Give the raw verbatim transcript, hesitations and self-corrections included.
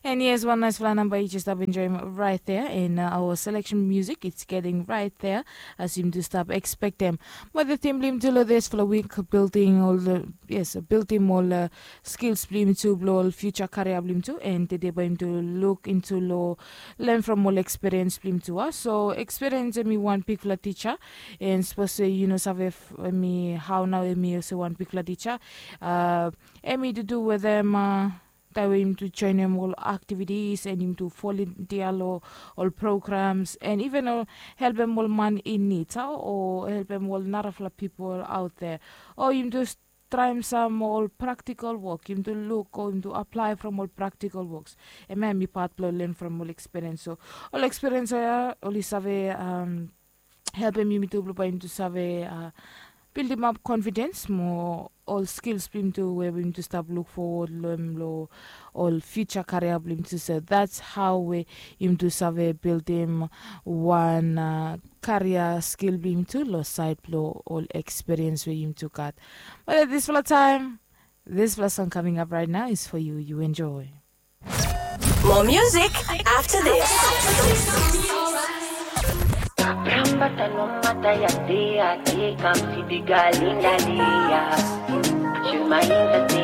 And yes, wan naisfala namba yu jes stap enjoim right there in uh, our selection music. It's getting right there as yum tu stap expectem. But the theme blim tu lo this fala week building all the yes, building all uh, skills blim tu blo all future career blim tu and today by him to look into lo learn from all experience blim tu. Uh. So experience me one big fala teacher and suppose say you know save me how now me also one big fala teacher. Uh, Emi to do with them uh, tawe him tu joinim ol activities and him tu volunteer lo ol programs and even ol helpem ol man in need o helpem ol narafala people out there o him tu traim sam ol practical work him tu luk o him tu apply from ol practical works. Ema mi pat blo learn from ol experience so ol experience ya oli save um, helpem yumi tu blo bai yumi tu save uh, building up confidence mo ol skills blim tu we blim tu stap look forward lo em lo ol future career blim tu so that's how we yum tu save buildim wan uh, career skill blim tu lo side blo ol experience we yum tu gat. But at this fala time this fala song coming up right now is for you you enjoy. More music after this. Kambata no mata ya de a de kam si biga linda liya. Shema inda de